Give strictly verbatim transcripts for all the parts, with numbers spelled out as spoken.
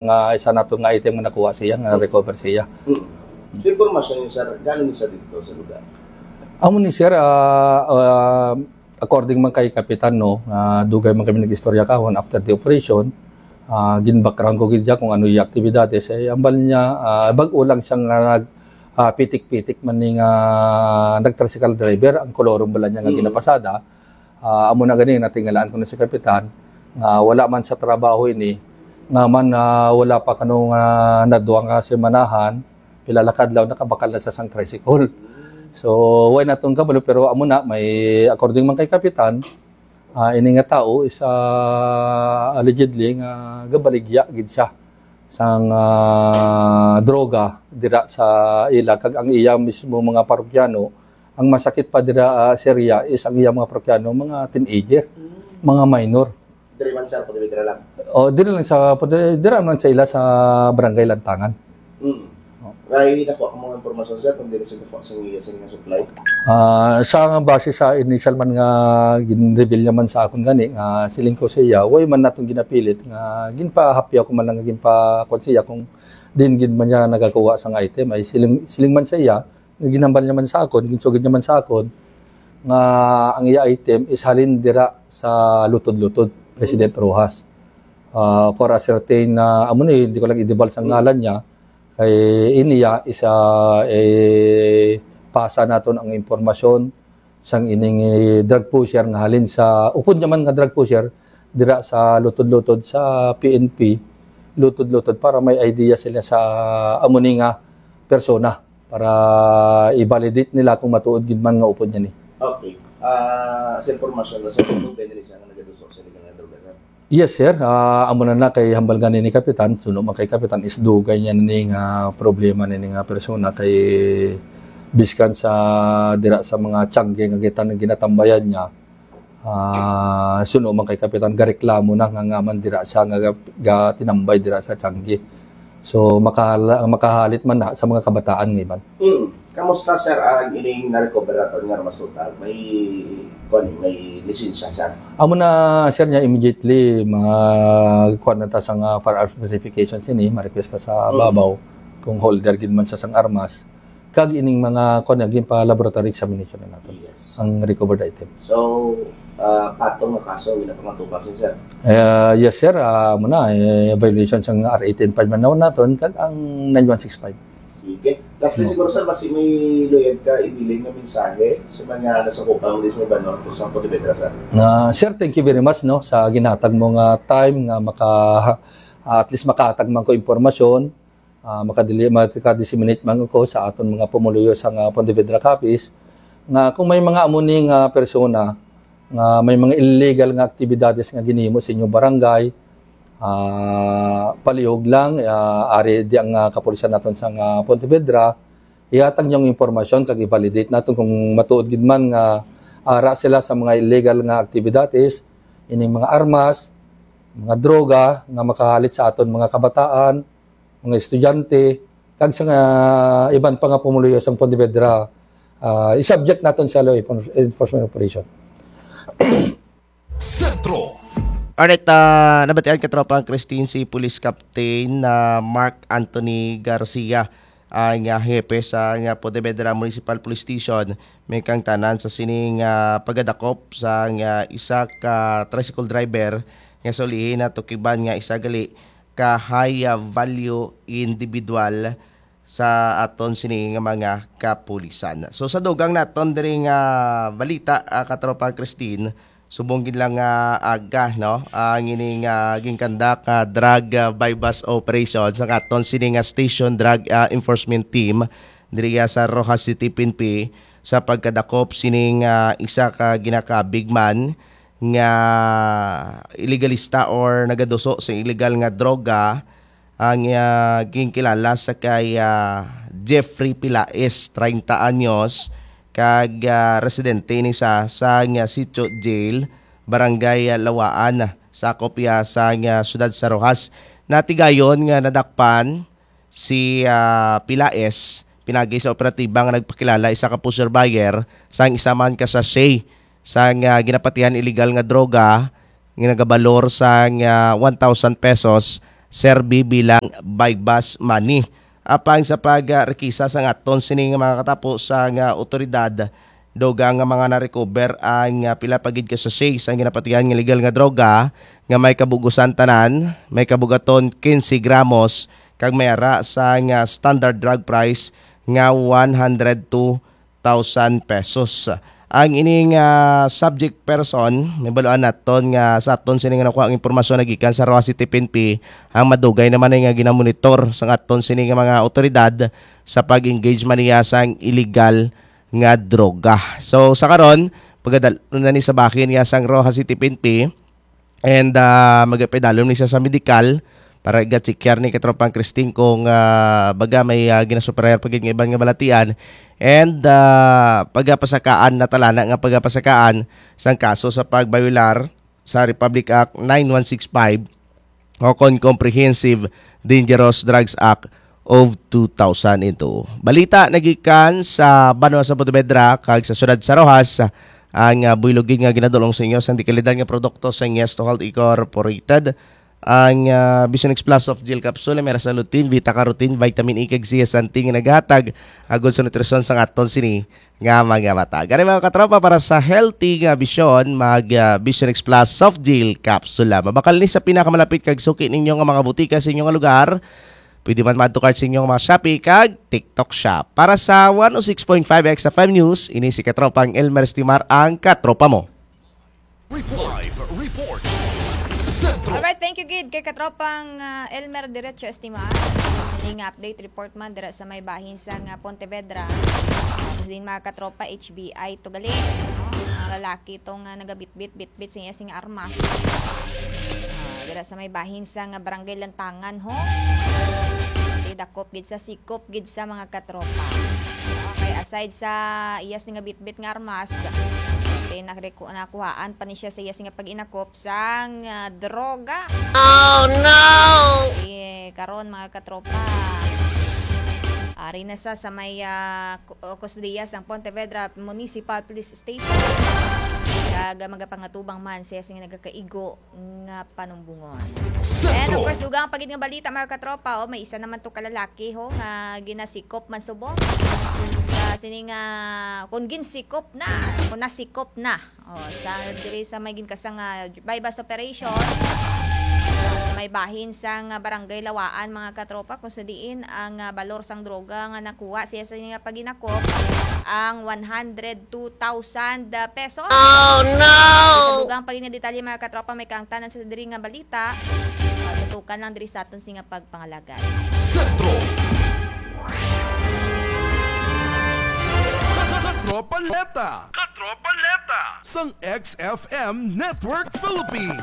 nga isa nato nga item nga nakuha siya, nga na-recover siya. Mm. Sa impormasyon niyo, sir, gaano ni sa dito sa lugar? Amo ni, sir, ah, ah, according man kay Kapitan, no, ah, dugay man kami nag-istorya kahon after the operation, ah, gin-background ko gid siya kung ano yung aktibidades. Eh, ambal niya, ah, bag-o lang siya nga nag, ah, pitik-pitik man ni nga nag-tricycle driver, ang kolorum bala niya nga Mm. ginapasada. Ah, amo na gani, natingalaan ko na si Kapitan, nga wala man sa trabaho ini, nga man, ah, wala pa kano nga nadwa nga semanahan, pila la kadlaw nakabakal na sa sang tricycle. So, way natong kabalo, pero amo na, may according man kay Kapitan, ah, ini nga tao is, ah, allegedly nga gabaligya gid siya sang, ah, droga dira sa ila, kag ang iya mismo mga parokyano, ang masakit pa dira, ah, sa area is ang iya mga parokyano, mga teenager, mga minor. Diri man, sir, pwede dira lang. O, diri lang sa, dira man sa ila sa Barangay Lantangan. Mm. Kay nakuha ko mga impormasyon, sir, kung dili sa nakuha sa iya sa nga supply. Ah, sa nga base sa initial man nga gin-reveal niya man sa akon gani, nga siling ko sa iya, way man natong ginapilit nga ginpahapyaw ko man lang nga ginpa-, kuwan sa iya kung din gid man niya nagakuha sang item, ay siling, siling man sa iya nga ginhambal niya man sa akon, ginsugid niya man sa akon nga ang iya item is halin dira sa Lutod-Lutod, President Roxas. Ah, for a certain na, amo ni, hindi ko lang idibal sa ngalan niya, kay iniya isa, eh, pasa naton ang impormasyon sang ining, eh, drug pusher nga halin sa upod niya man nga drug pusher dira sa Lutod-Lutod sa P N P, Lutod-Lutod, para may idea sila sa amo ni nga persona, para i-validate nila kung matuod gid man nga upod niya ni. Okay. Ah, sa impormasyon na sa pagtubay na siya nga nagaduso sa illegal nga droga, sir. Yes, sir. Ah, amo na na kay hambal gani ni Kapitan, suno man kay Kapitan, is dugay niya ni nga problema ni nga persona kay biskan sa dira sa mga tiyangge nga gitan-, ginatambayan niya. Ah, suno man kay Kapitan, gareklamo na nga, nga man dira sa nga ga-, ga-, tinambay dira sa tiyangge. So, makahala-, makahalit man na sa mga kabataan nga iban. Mm. Kamusta, sir, ang ining na-recover naton nga armas total? May, kuwan, may lisensya, sir? Amo na, sir, niya immediately, mga kuwan na ta sa nga firearms verification sini, ma-request ta sa Mm. babaw kung holder gid man sa sang armas. Kag ining mga kuwan na, ginpa-laboratory examination na nato Yes. ang recovered item. So, ah, patong nga kaso ang ginapangatubang, sir? Ah, yes, sir. Ah, amo na, eh, violation sang R eighteen five man naton, kag ang nine one six five. Sige. Lastly, No. siguro, sir, basi may luyag ka ibilin nga mensahe sa mga nasakupan diri sa Banwa, sa Pontevedra, sir? Na, sir, thank you very much, no, sa ginhatag mo nga time nga maka, at least makahatag man ko impormasyon, ah, makadili-, makadisseminate man ko sa aton mga pumuluyo sa nga Pontevedra Capiz, nga kung may mga amo ni nga persona nga may mga illegal nga aktibidades nga ginhimo sa inyong barangay, ah, palihog lang, ah, ari di ang, ah, kapulisan naton sa nga Pontevedra, ihatag niyo ang impormasyon kag i-validate naton kung matuod gid man nga ara sila sa mga illegal nga aktibidades, ining mga armas, mga droga nga makahalit sa aton mga kabataan, mga estudyante, kag sa nga iban pa nga pumuluyo sang Pontevedra, ah, i-subject naton sa law enfor-, enforcement operation. Sentro. Alright, ah, nabatian, katropang Christine, si Police Captain na Mark Anthony Garcia, ang, ah, hepe sa nga Pontevedra Municipal Police Station, may kangtanan sa sining, ah, pagkadakop sa nga isa ka tricycle driver nga sulihi na tukiban nga isa gali ka high, ah, value individual sa aton sini nga mga kapulisan. So, sa dugang naton diri nga balita, ah, katropa Christine, subong gid lang nga aga, no, ang ini nga ginkandak nga drug, ah, buy-bust operation sa aton sini nga station drug, ah, enforcement team diri, ah, sa Roxas City, P N P, sa pagkadakop sining, ah, isa ka ginaka-big man nga ilegalista or nagaduso sa illegal nga droga, ang, ah, ginkilala sa kay, ah, Jeffrey Pilaes, treinta anyos, kag, ah, residente ini sa, sa nga Sitio Jail, Barangay, ah, Lawaan, sakop iya sa nga siyudad sa Roxas. Natigayon nga nadakpan si, ah, Pilaes pinagi sa operatiba nga nagpakilala isa ka pusher buyer sang isa man ka sachet sang, ah, ginapatihan illegal nga droga nga nagabalor sang, ah, one thousand pesos serbi bilang buy-bust money. Apang sa pagrekisa sang aton sini nga mga katapo sang otoridad, dugang nga mga na-recover ang, ah, pila pa gid ka sachet sang ginapatihan nga legal nga droga nga may kabugusan tanan, may kabugaton quince gramos, kag may ara sang, ah, standard drug price nga one hundred two thousand pesos. Ang ining, ah, subject person, mahibaluan naton nga sa aton sini nga nakuha ang impormasyon nagikan sa Roxas City P N P, ang madugay naman ay nga ginamonitor sa aton sini nga mga otoridad sa pag-engage man niya sang illegal nga droga. So, sa karon, pagadal na ni sa bahin niya sang Roxas City P N P, and, ah, magapadalom ni siya sa medikal para iga-check ni katropang Christine kung, ah, baga may, ah, ginasuperayar pa gid nga iban nga balatian, and, ah, pagapasakaan na talana nga pagapasakaan sang kaso sa pagbayolar sa Republic Act nine one six five o kon Comprehensive Dangerous Drugs Act of two thousand and two. Balita nagikan sa banwa sa Pontevedra kag sa siyudad sa Roxas, ang, ah, buylog gid nga ginadul-ong sa inyo sang dekalidad nga produkto sa Ngesto Health Incorporated. Ang, ah, Vision X Plus Soft Gel Capsule may ra sa lutein, beta carotene, vitamin E kag zeaxanthin nga naghatag agod sa nutrisyon sang aton sini nga mga mata. Gani, mga katropa, para sa healthy nga bisyon, mag, ah, Vision X Plus Soft Gel Capsule. Mabakal ni sa pinakamalapit kag suki ninyo nga mga butika sa inyo nga lugar. Pwede man madto kart sa inyo nga mga Shopee kag TikTok Shop. Para sa one oh six point five X F M News, ini si katropang Elmer Estimar, ang katropa mo. Report. Live report. Sentro. Alright, thank you gid kay katropang, ah, Elmer Diretso Estimar. Sini nga update report man dira sa may bahin sang, ah, Pontevedra. Tapos din, mga katropa, H B I to gali, no? Ang lalaki to nga nagabitbit-bitbit sa iya sing armas. Ah, dira sa may bahin sang, ah, Barangay Lantangan, ho. Di dakop gid sa sikop gid sa mga katropa. Okay, aside sa iya sing bitbit nga armas, okay, nakre-, nakuhaan pa ni siya sa iya sing pag-inakop sang, ah, droga. Oh, no! Eh, karon, mga katropa, ari na sa, sa may, ah, ku-, uh, kustodiya sang Pontevedra Municipal Police Station. Kag, ah, magapangatubang man siya sing nagakaigo nga panumbungon. And of course, dugang pa gid nga balita, mga katropa, oh, may isa naman to ka lalaki, ho, nga ginasikop man subong. Sa sini nga, kung ginsikop na, kung nasikop na, oh, sa diri sa may ginkasang, ah, buy-bust operation, ah, sa may bahin sang, ah, Barangay Lawaan, mga katropa, kung sa diin ang, ah, balor sang droga nga nakuha siya sa niya pag-inakop ang one hundred two thousand pesos. Oh, no! Sa dugang pa gid nga detalye, mga katropa, may kaangtanan sa diri nga balita. Ah, tutukan lang diri sa aton sini nga pagpangalagad. Sentro. Katropa Leta. Katropa Leta. Sang X F M Network Philippines.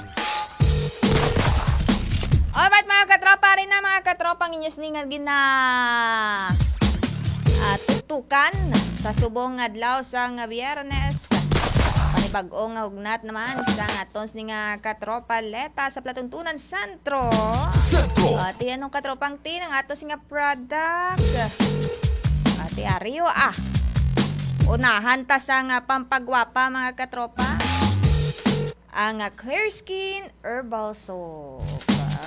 Alright, mga katropa, ari na, mga katropa, ang inyo sini nga gina-, ah, tutukan sa subong nga adlaw sang Biyernes. Panibag-o nga hugnat naman sa aton sini nga Katropa Leta sa Platuntunan Sentro. Sentro. Ati, anong katropang tin ang ato sini nga product? Ati, ario, ah. Unahan ta sa nga pampagwapa, mga katropa. Ang, ah, Clear Skin Herbal Soap.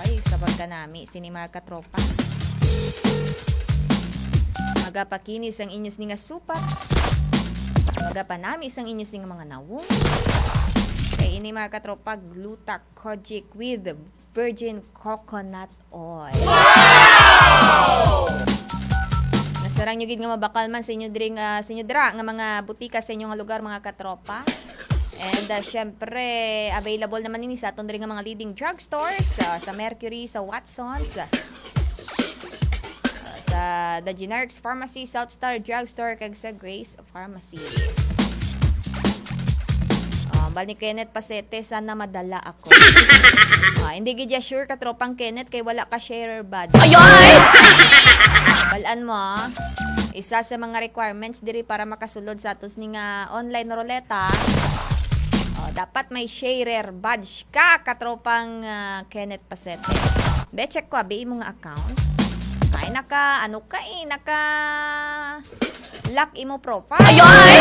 Ay, sa pagkanami sini, mga katropa. Magapakinis ang inyo sini nga supat. Magapanami sang inyo sini nga mga nawong. Kay ini, mga katropa, Gluta Kojic with virgin coconut oil. Nasarang nyo gid nga mabakal man sa inyo diri nga, sa inyo dira nga mga butika sa inyo nga lugar, mga katropa. And, ah, syempre, available naman ini sa aton diri nga mga leading drugstores, ah, sa Mercury, sa Watsons, ah, sa The Generics Pharmacy, South Star Drugstore, kag sa Grace Pharmacy. Ah, bal ni Kenneth Pasete, sana madala ako. Ah, hindi gid ya sure, katropang Kenneth, kay wala ka sharer badge. Ayoy! Balan mo, ah. Isa sa mga requirements diri para makasulod sa atos ni nga online ruleta, oh, dapat may sharer badge ka, katropang, ah, Kenneth Pasete. Be, check ko, abi, imo nga account. Ay, naka, ano ka eh, naka lock imo profile. Ayoy!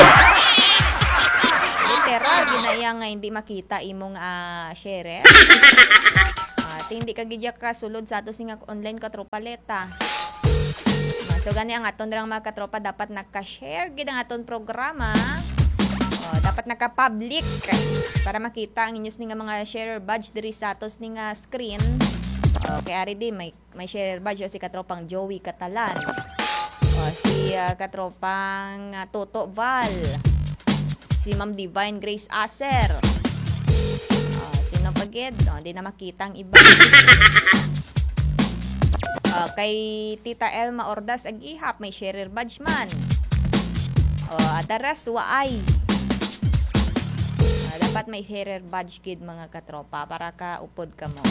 Literal, ginaya nga hindi makita imong, ah, share. Ah, Hindi ka gid ya kasulod sa ato singa online, katropa Leta. Ah, so gani ang aton rang mga katropa, dapat naka-share gid ang aton programa. Oh, dapat naka-public para makita ang inyo sini nga mga sharer badge diri sa ato sini nga screen. Oh, kay ari di may, may sharer badge o si katropang Joey Catalan. Oh, si ah, katropang ah, Toto Val. Si Ma'am Divine Grace Aser. Oh, sino pa gid? Oh, di na makita ang iba. Oh, kay Tita Elma Ordas Agihap, may sharer badge man. Oh, Adaras Waay. Ah, dapat may sharer badge gid, mga katropa, para kaupod kamo.